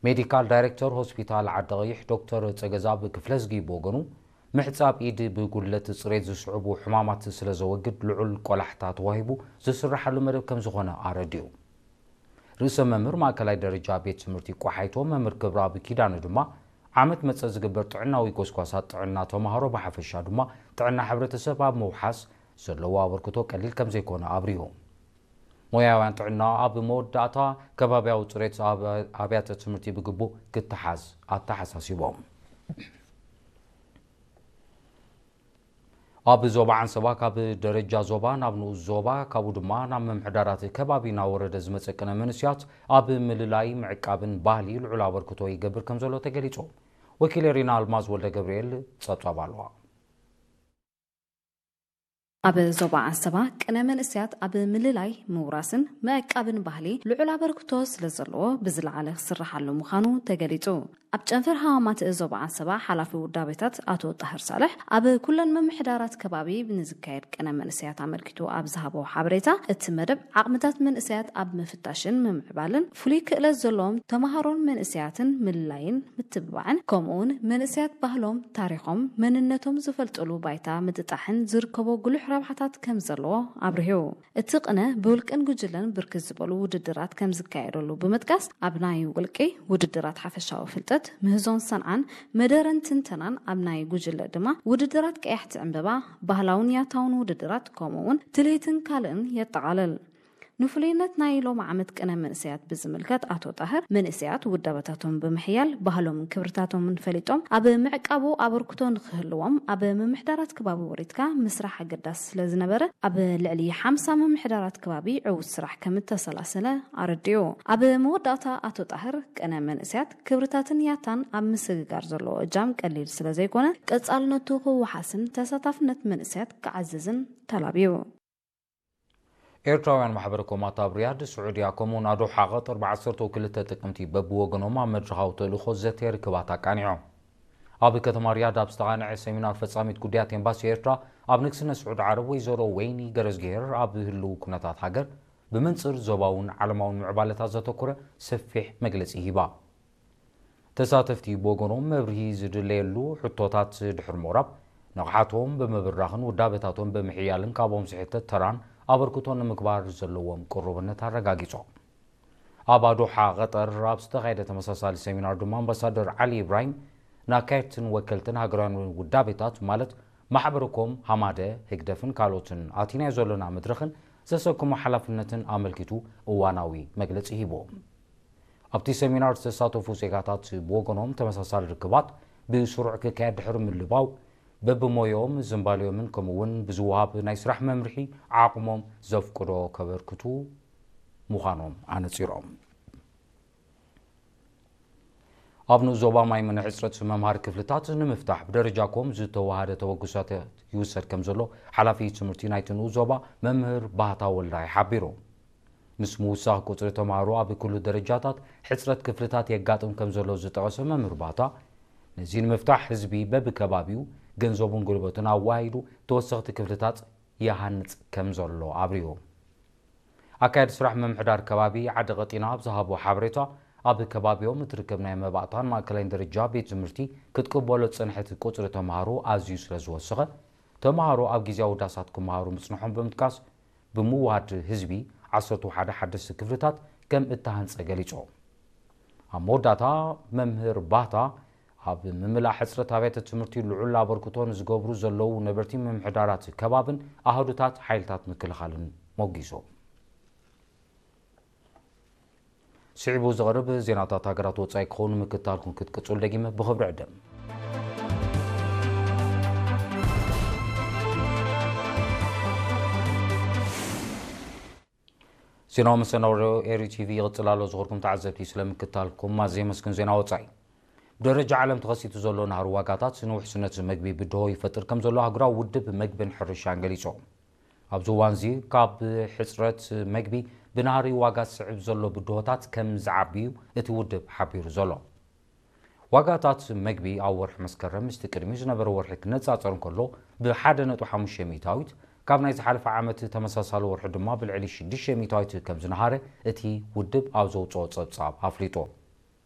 ሜዲካል ዳይሬክተር ሆስፒታል ዓዲ ቀይሕ ዶክተር ጸገዛብ ክፍለዝጊ ብወገኑ፣ ምሕጻብ ኢድ ብጉድለት ጽሬት ዝስዕቡ ሕማማት ስለ ዘወግድ ልዑል ቆላሕታ ተዋሂቡ ዝስራሓሉ መደብ ከም ዝኾነ ኣረዲኡ። ርእሰ መምህር ማእከላይ ደረጃ ቤት ትምህርቲ ቆሓይቶ መምህር ክብረኣብ ኪዳነ ድማ፣ ዓመት መጸ ዝግበር ጥዕናዊ ጎስጓሳት ጥዕና ተማሃሮ ብሓፈሻ ድማ ጥዕና ሕብረተሰብ ኣብ ምውሓስ ዘለዎ ኣበርክቶ ቀሊል ከም ዘይኮነ ኣብሪሁ። ሞያውያን ጥዕና ኣብ መወዳእታ ከባቢያዊ ጽሬት ኣብ ኣብያተ ትምህርቲ ብግቡእ ክተሓዝ ኣተሓሳሲቦም። ኣብ ዞባ ዓንሰባ ካብ ደረጃ ዞባ ናብ ንኡስ ዞባ፣ ካብኡ ድማ ናብ ምምሕዳራት ከባቢ እናወረደ ዝመጸ ቅነ መንእስያት ኣብ ምልላይ ምዕቃብን ባህሊ ልዑል ኣበርክቶ ይገብር ከም ዘሎ ተገሊጹ። ወኪል ሪና ኣልማዝ ወልደ ገብርኤል ጸብጻብ ኣለዋ። ኣብ ዞባ ዓንሰባ ቅነ መንእስያት ኣብ ምልላይ ምውራስን ምዕቃብን ባህሊ ልዑል ኣበርክቶ ስለ ዘለዎ ብዝለዓለ ክስርሓሉ ምዃኑ ተገሊጹ። ኣብ ጨንፈር ሃዋማት ዞባ ዓንሰባ ሓላፊ ውዳቤታት ኣቶ ጣህር ሳልሕ ኣብ ኩለን ምምሕዳራት ከባቢ ንዝካየድ ቅነ መንእስያት ኣመልኪቱ ኣብ ዝሃቦ ሓበሬታ፣ እቲ መደብ ዓቕምታት መንእስያት ኣብ ምፍታሽን ምምዕባልን ፍሉይ ክእለት ዘለዎም ተምሃሮን መንእስያትን ምልላይን ምትብባዕን፣ ከምኡውን መንእስያት ባህሎም፣ ታሪኾም፣ መንነቶም ዝፈልጥሉ ባይታ ምጥጣሕን ዝርከቦ ጉሉሕ ረብሓታት ከም ዘለዎ ኣብሪሁ። እቲ ቅነ ብውልቅን ጉጅለን ብርክት ዝበሉ ውድድራት ከም ዝካየደሉ ብምጥቃስ፣ ኣብ ናይ ውልቂ ውድድራት ሓፈሻዊ ፍልጠት፣ ምህዞን ሰንዓን፣ መደረን ትንተናን፣ ኣብ ናይ ጉጅለ ድማ ውድድራት ቀያሕቲ ዕምበባ፣ ባህላውን ያታውን ውድድራት፣ ከምኡ እውን ትልሂትን ካልእን የጠቓልል። ንፍሉይነት ናይ ሎም ዓመት ቅነ መንእሰያት ብዝምልከት ኣቶ ጣህር፣ መንእሰያት ውዳበታቶም ብምሕያል ባህሎምን ክብርታቶምን ፈሊጦም ኣብ ምዕቃቡ ኣበርክቶ ንክህልዎም ኣብ ምምሕዳራት ከባቢ ወሪድካ ምስራሕ ኣገዳሲ ስለ ዝነበረ፣ ኣብ ልዕሊ ሓምሳ ምምሕዳራት ከባቢ ዕዉት ስራሕ ከም እተሰላሰለ ኣረዲኡ። ኣብ መወዳእታ ኣቶ ጣህር፣ ቅነ መንእሰያት ክብርታትን ያታን ኣብ ምስግጋር ዘለዎ እጃም ቀሊል ስለ ዘይኮነ፣ ቀጻልነቱ ክወሓስን ተሳታፍነት መንእሰያት ክዓዝዝን ተላብዩ። ኤርትራውያን ማሕበረ ኮማት ኣብ ሪያድ፣ ስዑድያ፣ ከምኡውን ኣዶሓ ቀጠር ብዓሰርተ ክልተ ጥቅምቲ በብወገኖም ኣብ መድረኻዊ ተልእኾ ዘተ ርክባት ኣቃኒዖም። ኣብ ከተማ ሪያድ ኣብ ዝተቓንዐ ሰሚናር ፈጻሚት ጉዳያት ኤምባሲ ኤርትራ ኣብ ንግስነት ስዑድ ዓረብ ወይዘሮ ወይኒ ገረዝግሄር ኣብ ህልው ኩነታት ሃገር ብመንጽር ዞባውን ዓለማውን ምዕባለታት ዘተኮረ ሰፊሕ መግለጺ ሂባ። ተሳተፍቲ ብወገኖም መብርሂ ዝድለየሉ ሕቶታት ድሕሪ ምቕራብ፣ ንቕሓቶም ብምብራኽን ውዳበታቶም ብምሕያልን ካብኦም ዝሕተት ተራን ኣበርክቶን ንምግባር ዘለዎም ቅሩብነት ኣረጋጊጾም። ኣብ ኣዶሓ ቀጠር ኣብ ዝተኻየደ ተመሳሳሊ ሰሚናር ድማ ኣምባሳደር ዓሊ ኢብራሂም ንኣካየድትን ወከልትን ሃገራውያን ውዳቤታት ማለት ማሕበረ ኮም፣ ሃማደ፣ ህግደፍን ካልኦትን ኣቲናዮ ዘሎና መድረኽን ዘሰከሞ ሓላፍነትን ኣመልኪቱ እዋናዊ መግለጺ ሂቦም። ኣብቲ ሰሚናር ዝተሳተፉ ዜጋታት ብወገኖም ተመሳሳሊ ርክባት ብስሩዕ ክካየድ ድሕሪ ምልባው፣ በብሞያኦም ዝንባልዮምን ከምኡ እውን ብዝወሃብ ናይ ስራሕ መምርሒ ዓቕሞም ዘፍቅዶ ከበርክቱ ምዃኖም ኣነጺሮም። ኣብ ንኡስ ዞባ ማይምን ሕጽረት መምሃሪ ክፍልታት ንምፍታሕ ብደረጃ ኮም ዝተወሃደ ተበግሶታት ይውሰድ ከም ዘሎ ሓላፊ ትምህርቲ ናይቲ ንኡስ ዞባ መምህር ባህታ ወልዳይ ሓቢሩ። ምስ ምውሳኽ ቁጽሪ ተምሃሮ ኣብ ኩሉ ደረጃታት ሕጽረት ክፍልታት የጋጥም ከም ዘሎ ዝጠቐሰ መምህር ባህታ፣ ነዚ ንምፍታሕ ህዝቢ በብከባቢኡ ገንዘቡን ጉልበቱን ኣወሃሂዱ ተወሰኽቲ ክፍልታት ይሃንጽ ከም ዘሎ ኣብሪሁ። ኣካያዲ ስራሕ ምምሕዳር ከባቢ ዓዲ ቀጢና ኣብ ዝሃቦ ሓበሬታ፣ ኣብ ከባቢኦም እትርከብ ናይ መባእታን ማእከላይን ደረጃ ቤት ትምህርቲ ክትቅበሎ ዝጸንሐት ቁጽሪ ተምሃሮ ኣዝዩ ስለ ዝወሰኸ፣ ተምሃሮ ኣብ ግዝያዊ ዳሳት ክመሃሩ ምጽንሖም ብምጥቃስ፣ ብምውሃድ ህዝቢ ዓሰርተ ሓደ ሓደስቲ ክፍልታት ከም እተሃንጸ ገሊጹ። ኣብ መወዳእታ፣ መምህር ባህታ ኣብ ምምላእ ሕጽረት ኣብያተ ትምህርቲ ልዑል ኣበርክቶ ንዝገብሩ ዘለዉ ነበርቲ ምምሕዳራት ከባብን ኣሃዱታት ሓይልታት ምክልኻልን ሞጊሱ። ስዒቡ ዝቐርብ ዜናታት ሃገራት ወጻኢ ክኸውን ምክታልኩም ክትቅጽሉ ደጊመ ብኽብሪ ዕድም። ዜናዊ መሰናዶ ኤሪ ቲቪ ይቕጽል ኣሎ። ዝኸርኩም ተዓዘብቲ ስለምክታልኩም ኣዝየ የመስግን። ዜና ወጻኢ። ብደረጃ ዓለም ተኸሲቱ ዘሎ ናህሪ ዋጋታት ንውሕስነት መግቢ ብድሆ ይፈጥር ከም ዘሎ ኣህጉራዊ ውድብ መግብን ሕርሻን ገሊጹ። ኣብዚ እዋንዚ ካብ ሕጽረት መግቢ ብናህሪ ዋጋ ዝስዕብ ዘሎ ብድሆታት ከም ዝዓቢ እዩ እቲ ውድብ ሓቢሩ ዘሎ። ዋጋታት መግቢ ኣብ ወርሒ መስከረም ምስቲ ቅድሚ ዝነበረ ወርሒ ክነጻጸር እንከሎ ብሓደ ነጥቢ ሓሙሽተ ሚእታዊት፣ ካብ ናይ ዝሓለፈ ዓመት ተመሳሳሊ ወርሒ ድማ ብልዕሊ ሽዱሽተ ሚእታዊት ከም ዝነሃረ እቲ ውድብ ኣብ ዘውጽኦ ጸብጻብ ኣፍሊጡ።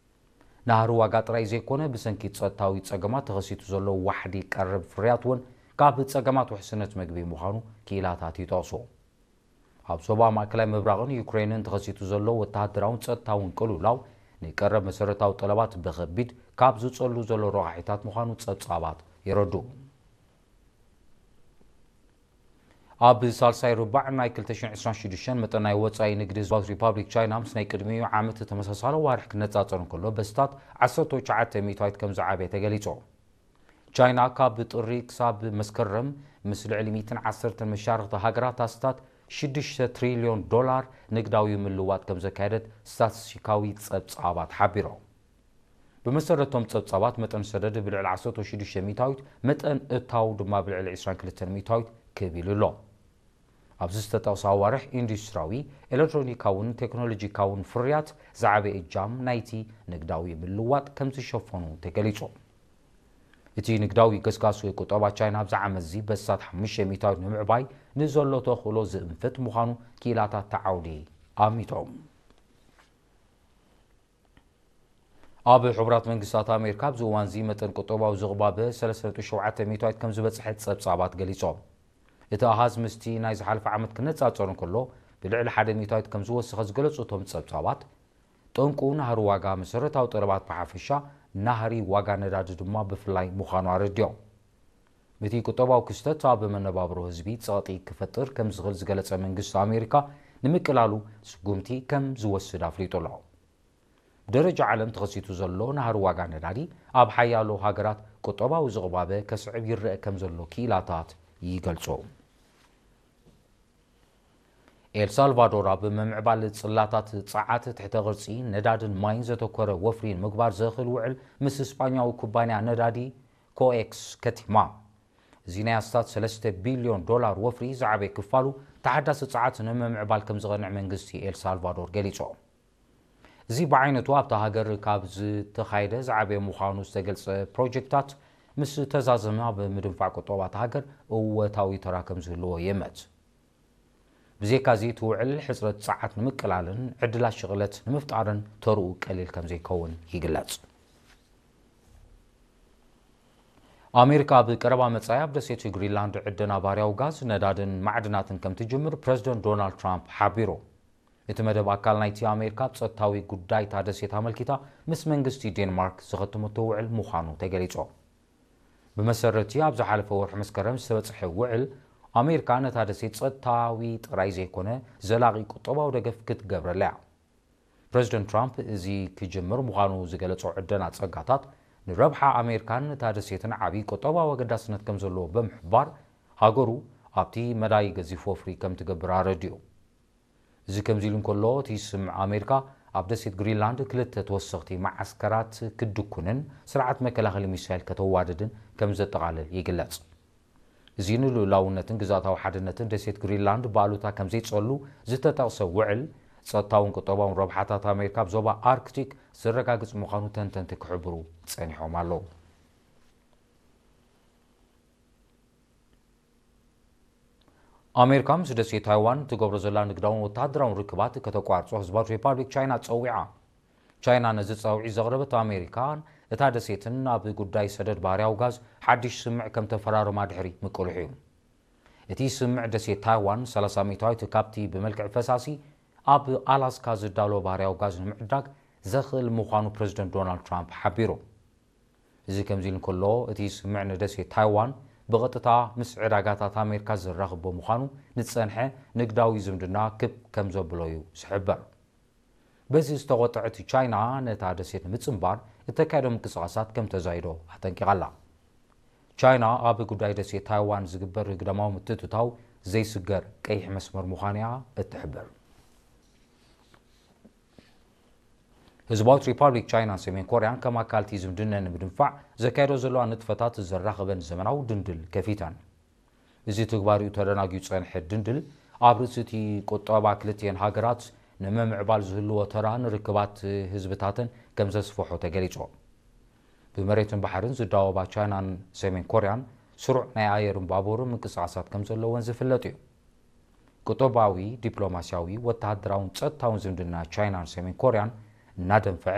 ናህሪ ዋጋ ጥራይ ዘይኮነ፣ ብሰንኪ ጸጥታዊ ጸገማት ተኸሲቱ ዘሎ ዋሕዲ ቀረብ ፍርያት እውን ካብ ጸገማት ውሕስነት መግቢ ምዃኑ ክኢላታት ይጠቕሱ። ኣብ ዞባ ማእከላይ ምብራቕን ዩክሬንን ተኸሲቱ ዘሎ ወተሃደራውን ጸጥታውን ቅልውላው፣ ንቀረብ መሰረታዊ ጠለባት ብኸቢድ ካብ ዝጸሉ ዘሎ ረቋሒታት ምዃኑ ጸብጻባት የረድኡ። ኣብ ሳልሳይ ርባዕ ናይ ክልተ ሽሕን ዕስራን ሽዱሽተን፣ መጠን ናይ ወጻኢ ንግዲ ህዝባዊት ሪፓብሊክ ቻይና ምስ ናይ ቅድሚኡ ዓመት ተመሳሳሊ ዋርሕ ክነጻጸር እንከሎ፣ በስታት ዓሰርተ ትሽዓተ ሚእታዊት ከም ዝዓበየ ተገሊጹ። ቻይና ካብ ጥሪ ክሳብ መስከረም ምስ ልዕሊ ሚእትን ዓሰርተን መሻርኽቲ ሃገራት ኣስታት ሽዱሽተ ትሪልዮን ዶላር ንግዳዊ ምልዋጥ ከም ዘካየደት ስታትስቲካዊ ጸብጻባት ሓቢሮም። ብመሰረቶም ጸብጻባት፣ መጠን ሰደድ ብልዕሊ ዓሰርተ ሽዱሽተ ሚእታዊት፣ መጠን እታው ድማ ብልዕሊ ዕስራን ክልተን ሚእታዊት ክብ ኢሉ ኣሎ። ኣብዚ ዝተጠቕሰ ኣዋርሕ፣ ኢንዱስትሪያዊ፣ ኤሌክትሮኒካውን ቴክኖሎጂካውን ፍርያት ዝዓበየ እጃም ናይቲ ንግዳዊ ምልዋጥ ከም ዝሸፈኑ ተገሊጹ። እቲ ንግዳዊ ገስጋስ ወይ ቁጠባ ቻይና ኣብዚ ዓመት እዚ በስታት ሓሙሽተ ሚእታዊት ንምዕባይ ንዘሎ ተኽእሎ ዝእንፍት ምዃኑ ክኢላታት እቲ ዓውዲ ኣሚቶም። ኣብ ሕቡራት መንግስታት ኣሜሪካ ኣብዚ እዋን እዚ መጠን ቁጠባዊ ዝቕባበ ሰለስተ ነጥቢ ሸውዓተ ሚእታዊት ከም ዝበጽሐ ጸብጻባት ገሊጾም። እቲ ኣሃዝ ምስቲ ናይ ዝሓለፈ ዓመት ክነጻጸር እንከሎ፣ ብልዕሊ ሓደ ሚእታዊት ከም ዝወሰኸ ዝገለጹ እቶም ጸብጻባት፣ ጠንቁ ናህሪ ዋጋ መሰረታዊ ጠለባት ብሓፈሻ፣ ናህሪ ዋጋ ነዳዲ ድማ ብፍላይ ምዃኑ ኣረዲኦም። እቲ ቁጠባዊ ክስተት ኣብ መነባብሮ ህዝቢ ጸቕጢ ክፈጥር ከም ዝኽእል ዝገለጸ መንግስቲ ኣሜሪካ፣ ንምቅላሉ ስጉምቲ ከም ዝወስድ ኣፍሊጡ ኣሎ። ብደረጃ ዓለም ተኸሲቱ ዘሎ ናህሪ ዋጋ ነዳዲ፣ ኣብ ሓያሎ ሃገራት ቁጠባዊ ዝቕባበ ከስዕብ ይረአ ከም ዘሎ ክኢላታት ይገልጹ። ኤልሳልቫዶር ኣብ ምምዕባል ጽላታት ጸዓት፣ ትሕተ ቅርጺ፣ ነዳድን ማይን ዘተኮረ ወፍሪ ንምግባር ዘኽእል ውዕል ምስ ስጳኛዊ ኩባንያ ነዳዲ ኮኤክስ ከቲማ። እዚ ናይ ኣስታት ሰለስተ ቢልዮን ዶላር ወፍሪ ዝዓበየ ክፋሉ፣ ተሓዳሲ ጸዓት ንምምዕባል ከም ዝቐንዕ መንግስቲ ኤልሳልቫዶር ገሊጹ። እዚ ብዓይነቱ ኣብታ ሃገር ካብ ዝተኻየደ ዝዓበየ ምዃኑ ዝተገልጸ ፕሮጀክታት ምስ ተዛዘመ፣ ኣብ ምድንፋዕ ቁጠባ እታ ሃገር እወታዊ ተራ ከም ዝህልዎ ይእመት። ብዘይካ እዚ፣ እቲ ውዕል ሕጽረት ጸዓት ንምቅላልን ዕድላት ሽቕለት ንምፍጣርን ተርኡ ቀሊል ከም ዘይከውን ይግለጽ። ኣሜሪካ ኣብ ቀረባ መጻኢ ኣብ ደሴት ግሪንላንድ ዕደና ባህርያዊ ጋዝ፣ ነዳድን ማዕድናትን ከም ትጅምር ፕረዚደንት ዶናልድ ትራምፕ ሓቢሩ። እቲ መደብ ኣካል ናይቲ ኣሜሪካ ኣብ ጸጥታዊ ጉዳይ እታ ደሴት ኣመልኪታ ምስ መንግስቲ ዴንማርክ ዝኸተመቶ ውዕል ምዃኑ ተገሊጹ። ብመሰረቲ ኣብ ዝሓለፈ ወርሒ መስከረም ዝተበጽሐ ውዕል፣ ኣሜሪካ ነታ ደሴት ጸጥታዊ ጥራይ ዘይኮነ፣ ዘላቒ ቁጠባዊ ደገፍ ክትገብረላ እያ። ፕረዚደንት ትራምፕ እዚ ክጅምር ምዃኑ ዝገለጾ ዕደና ጸጋታት፣ ንረብሓ ኣሜሪካን እታ ደሴትን ዓቢ ቁጠባዊ ኣገዳስነት ከም ዘለዎ ብምሕባር፣ ሃገሩ ኣብቲ መዳይ ገዚፍ ወፍሪ ከም ትገብር ኣረዲኡ። እዚ ከምዚ ኢሉ እንከሎ፣ እቲ ስምምዕ ኣሜሪካ ኣብ ደሴት ግሪንላንድ ክልተ ተወሰኽቲ መዓስከራት ክትድኩንን ስርዓት መከላኸሊ ሚሳይል ከተዋድድን ከም ዘጠቓልል ይግለጽ። እዚ ንልኡላውነትን ግዝኣታዊ ሓድነትን ደሴት ግሪንላንድ ብኣሉታ ከም ዘይጸሉ ዝተጠቕሰ ውዕል፣ ጸጥታውን ቁጠባውን ረብሓታት ኣሜሪካ ኣብ ዞባ ኣርክቲክ ዘረጋግጽ ምዃኑ ተንተንቲ ክሕብሩ ጸኒሖም ኣለዉ። ኣሜሪካ ምስ ደሴት ታይዋን ትገብሮ ዘላ ንግዳውን ወተሃደራውን ርክባት ከተቋርጾ ህዝባዊት ሪፓብሊክ ቻይና ጸዊዓ። ቻይና ነዚ ጻውዒት ዘቕረበት፣ ኣሜሪካን እታ ደሴትን ኣብ ጉዳይ ሰደድ ባህርያዊ ጋዝ ሓድሽ ስምምዕ ከም ተፈራረማ ድሕሪ ምቅልሑ እዩ። እቲ ስምምዕ፣ ደሴት ታይዋን ሰላሳ ሚእታዊት ካብቲ ብመልክዕ ፈሳሲ ኣብ ኣላስካ ዝዳሎ ባህርያዊ ጋዝ ንምዕዳግ ዘኽእል ምዃኑ ፕረዚደንት ዶናልድ ትራምፕ ሓቢሩ። እዚ ከምዚ ኢሉ እንከሎ፣ እቲ ስምምዕ ንደሴት ታይዋን ብቐጥታ ምስ ዕዳጋታት ኣሜሪካ ዘራኽቦ ምዃኑ፣ ንዝጸንሐ ንግዳዊ ዝምድና ክብ ከም ዘብሎ እዩ ዝሕበር። በዚ ዝተቖጥዐት ቻይና፣ ነታ ደሴት ንምጽንባር እተካየዶ ምንቅስቓሳት ከም ተዛይዶ ኣጠንቂቓ ኣላ። ቻይና ኣብ ጉዳይ ደሴት ታይዋን ዝግበር ግዳማዊ ምትእትታው ዘይስገር ቀይሕ መስመር ምዃኑ እያ እትሕብር። ህዝባዊት ሪፓብሊክ ቻይናን ሰሜን ኮርያን ከም ኣካል እቲ ዝምድነን ንምድንፋዕ ዘካየዶ ዘለዋ ንጥፈታት ዘራኸበን ዘመናዊ ድንድል ከፊተን። እዚ ትግባሪኡ ተደናጊዩ ዝጸንሐ ድንድል፣ ኣብ ርእሲ እቲ ቁጠባ ክልቲኤን ሃገራት ንምምዕባል ዝህልዎ ተራ ንርክባት ህዝብታተን ከም ዘስፍሖ ተገሊጹ። ብመሬትን ባሕርን ዝዳወባ ቻይናን ሰሜን ኮርያን፣ ስሩዕ ናይ ኣየርን ባቡርን ምንቅስቓሳት ከም ዘለወን ዝፍለጥ እዩ። ቁጠባዊ፣ ዲፕሎማስያዊ፣ ወተሃደራውን ጸጥታውን ዝምድና ቻይናን ሰሜን ኮርያን እናደንፈዐ